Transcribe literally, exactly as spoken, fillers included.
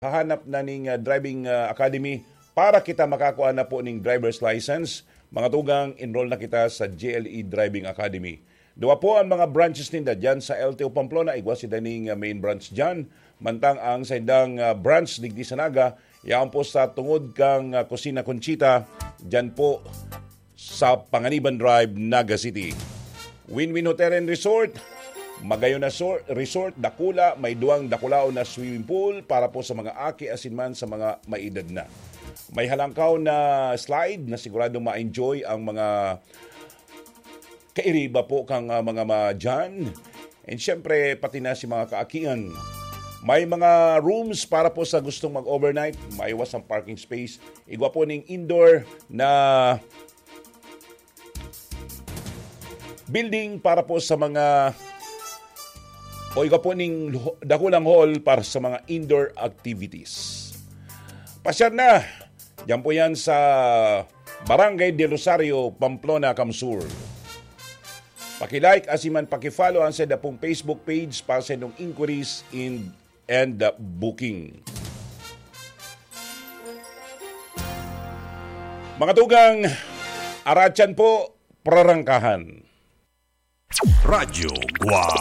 naghahanap na ning, ah, driving, ah, academy para kita makakuha na po ning driver's license, mga tugang, enroll na kita sa G L E Driving Academy. Duwa po ang mga branches ninda diyan sa L T O Pamplona, igwa sinda ning, ah, main branch diyan. Mantang ang saindang, ah, branch digdi sa Naga, yaon po sa tungod kang, ah, Kusina Conchita, diyan po sa Panganiban Drive, Naga City. Win-Win Hotel and Resort, magayon na sor-, resort, dakula, may duwang dakulaon na swimming pool para po sa mga aki asin man sa mga may edad na. May halangkaw na slide na siguradong ma-enjoy ang mga kairiba po kang, ah, mga madyan. And syempre, pati na si mga kaakian. May mga rooms para po sa gustong mag-overnight. May iwas ang parking space. Igwa po ning indoor na building para po sa mga, o igwa po ning lo-, dakulang hall para sa mga indoor activities. Pasyar na! Diyan po yan sa Barangay del Rosario, Pamplona, Camsur. Paki-like asin man paki-follow ang sainda pong Facebook page para sa inyong inquiries in, and, uh, booking. Mga tugang, aratyan po, prarangkahan. Radyo Guwang.